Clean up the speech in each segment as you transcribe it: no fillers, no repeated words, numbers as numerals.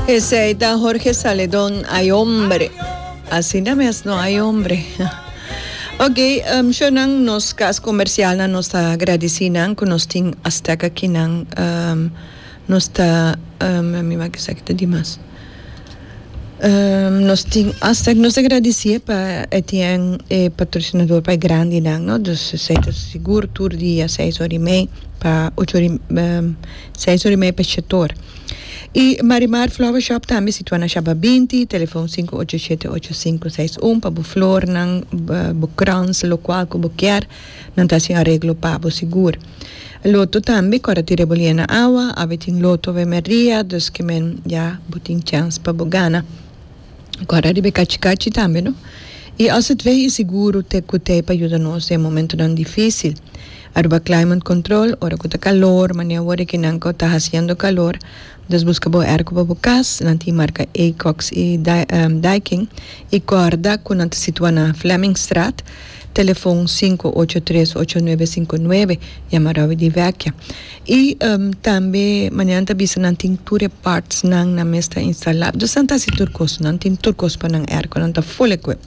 Esey ta Jorge Saledon Ay hombre. Asina mes no ay hombre. Ok, um, shonan nos cas comercialnan nos ta agradeci nan cu nos tin Azteca akinan. Um, nos ta, um, mi wak esaki ta dimas. Um, nos tin Aztec, nos ta agradeci pa e tin e patrocinador pa e grandinan, no? Dus esey ta sigur tur dia seis ora y mei pa ocho ora y, um, seis ora y mei pa shetor. Y Marimar Flower Shop tambe situa na Shaba binti, telefon sinku ocho shete ocho sinku seis un pa bo flornan, bo krans, lokual ku bo kier, nan ta hasi un areglo pa bo sigur. Loto tambe ku ora tira bo lia na awa, awe tin loto awe merdia, dus ke men ya bo tin chèns pa bo gana. Kòrda riba e kachi kachi tambe no. I OZV i seguro te ku tei pa yuda nos den momentonan difisil. Aruba Climate Control, ora ku ta kalor, manera awor e kinan ku ta hasiendo kalor, dus buska bo airco pa bo kas, nan tin marka Acox i Daikin. I kòrda ku nan ta situa na Flemmingstraat, telefon sinku ocho tres ocho nuebe sinku nuebe, yama Robbie di Vecchia. I tambe manera nan ta bisa nan tin tur e parts nan nan mes ta instala. Dus nan ta hasi tur kos, nan tin tur kos pa nan airco, nan ta full equip.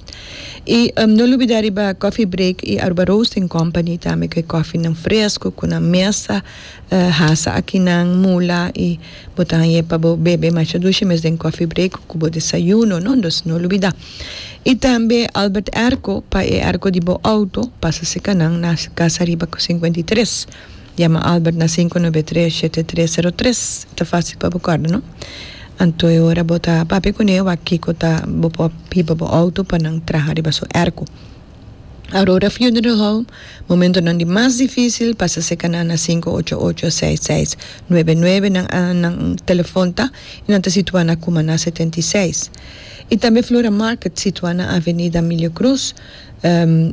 I no lubida riba Coffee Break i Aruba Roasting Company tambe ku e kòfinan fresco ku nan mes ta hasa akinan mula i bo ta hañ'e pa bo bebe masha dushi mes den Coffee Break ku bo desayuno no, dus no lubida. I tambe Albert Airco pa e airco di bo auto pasa seka nan na Casa Riba 53. Yama Albert na 593 7303. Ta fácil pa bo kòrda, no? Anto e ora bo ta papia kuné wak kiko ta bo por hiba bo outo pa nan traha riba su èrko. Aurora Funeral Home, Momentonan di mas difísil pasa serka nan na 588 6699 nan nan telefòn ta i nan ta situá na Cumaná 76. I tambe Flora Market situá na Avenida Emilio Cruz.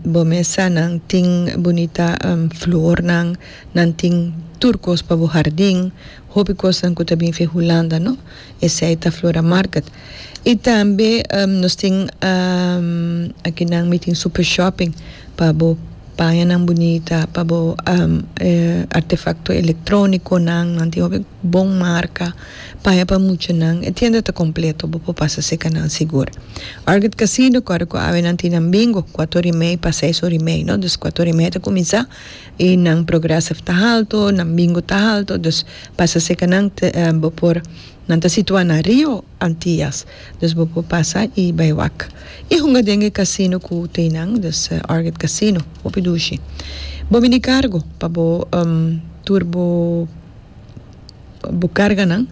Bo mesa nan tin bunita flornan, nan tin tur kos pa bo hardin, hopi kosnan ku ta bin fi Hulanda no, esei ta Flora Market. I tambe nos tin akinan mi tin Super Shopping pa bo pañanan bunita, pa bo artefakto elektronikonan, nan tin hopi bon marka, paña pa muchanan, e tienda ta kompleto, bo por pasa seka nan sigur. Argot Casino kòrda ku awe nan tin nan bingo kuator i mei pa seis ora i mei no dus kuator i mei ta kuminsá i nan progressive ta halto nan bingo ta halto dus pasa seka nan bo por nan ta situá na Rio Antillas dus bo por pasa i bai wak i hunga den e casino ku tin nan dus Argot Casino hopi dushi bo bini kargo pa bo tur bo. Bo karganan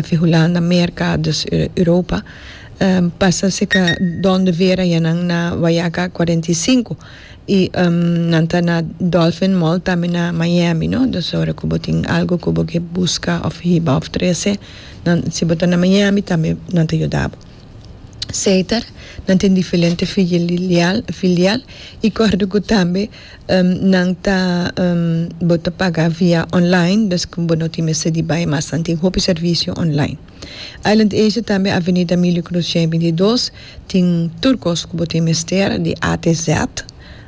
fi Hulanda, Merka, dus Europa, pasa seka Don de Vera yanan na Wayaca 45 y nan ta na Dolphin Mall tambe na Miami no, dus ora ku bo tin algo ku bo ke buska of hiba of trese nan si bo ta na Miami tambe nan ta yuda bo. Seiter, nan tin diferente filial filial y kòrda ku tambe Nan ta bo ta paga via online, dus ku bo no tin mester di bai mas, nan tin hopi servisio online. Island Asia tambe Avenida Emilio Cruz 122 tin tur kos ku bo tin mester di A te Z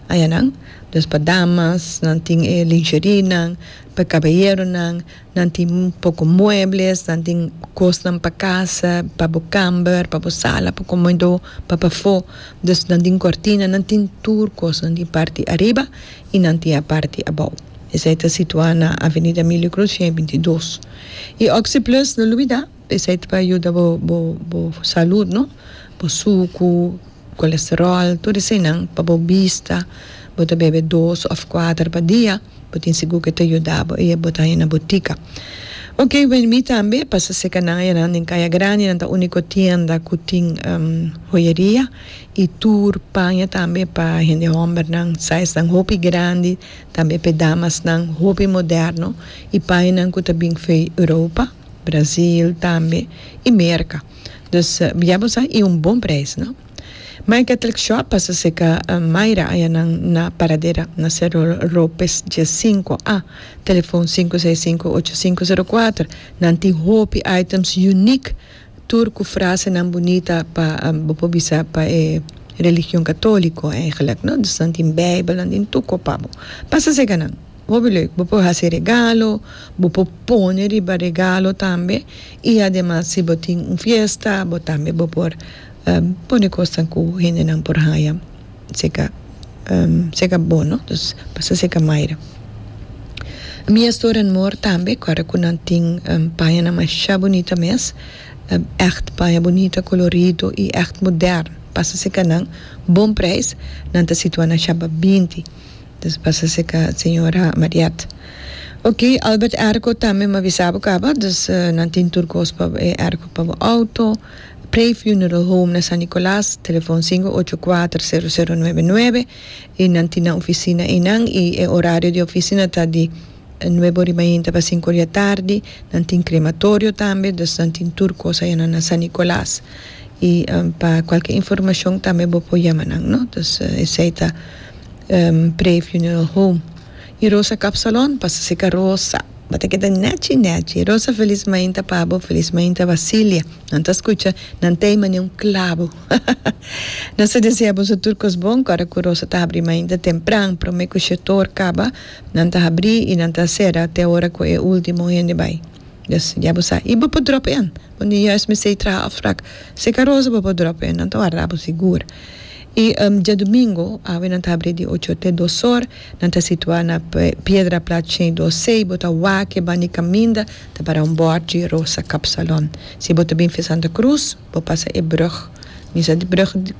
ayanan, dus pa damas nan tin e lingerienan, pa kabayeronan. Nan tin un poko muebles, nan tin kosnan pa kasa, pa bo kamber, pa bo sala, pa komedó, pa pafó. Dus nan tin kortina, nan tin tur kos. Nan tin parti ariba i nan tin a parti abou. Esei ta situá na Avenida Emilio Cruz 122. I Oxi Plus, no lubidá, esei ta pa yuda bo bo bo salud, no? Bo suku, kolesteròl, tur eseinan pa bo bista. Bo ta bebe dos òf kuater pa dia. Bo tin sigur ku e ta yuda bo i e bo ta haña na botika. Ok, wen mi tambe pasa seka nan ayanan den Kaya Grandi, nan ta uniko tienda ku tin hoyeria i tur paña tambe pa hende hòmbernan, sizenan hopi grandi, tambe pa e damasnan hopi moderno i pañanan ku ta bin fei Europa, Brazil tambe i Merka. Dus ya bo sa i un bon preis no. My Catholic Shop pasa serka Mayra ayanan na Paradera na Cerro Lopez 15 A, telefon 565 8504. Nan tin hopi items unique tur ku frasenan bunita pa bo por bisa pa e religion catolico eigenlijk no. Dus nan tin bijbel, nan tin tur ko pa bo. Pasa serka nan. Hopi leuk. Bo por hasi regalo, bo por pone riba regalo tambe y ademas si bo tin un fiesta bo tambe bo por pone cosnan cu hendenan por haya cerca cerca bo no. Dus pasa cerca Mayra. Mia Store and More tambe kòrda ku nan tin pañanan masha bunita mes, ègt paña bunita, kolorido i ègt modèrn. Pasa serka nan, bon preis, nan ta situá na Shaba 20. Dus pasa serka señora Mariette. Oké, Albert Airco tambe mi a bisa bo kaba, dus nan tin tur kos pa e airco pa bo auto. Prey Funeral Home na San Nicolas, telefon 584 0099. I nan tin nan oficina einan i e horario di oficina ta di nuebe ora i mainta pa sinku ora di atardi. Nan tin crematorio tambe, dus nan tin tur cos ayanan na San Nicolas. I pa cualkier informacion tambe bo por yama nan, no. Dus esei ta Prey Funeral Home. I Rosa Kapsalon, pasa seca Rosa. Bo ta keda nechi nechi. Rosa felis mainta pa bo, felis mainta Basilia. Nan ta scucha, nan ta ei manera un clabo. Nos ta desea boso tur cos bon, cu ora cu Rosa ta habri mainta tempran, prome cu shetor caba, nan ta habri y nan ta cera te ora cu e ultimo hende bay. Dus, ya bo sa. Y bo por drop in. Bo ni juist mester traha afspraak. Seca Rosa bo por drop in, nan ta warda bo sigur. Y djadumingo, awe nan ta habri di ocho te dos or. Nan ta situa na Piedra Plat 102C. Bo ta wak e banda di caminda, ta para un bordje Rosa Kapsalon. Si bo ta bin via Santa Cruz, bo pasa e brug. Mi sa di brug.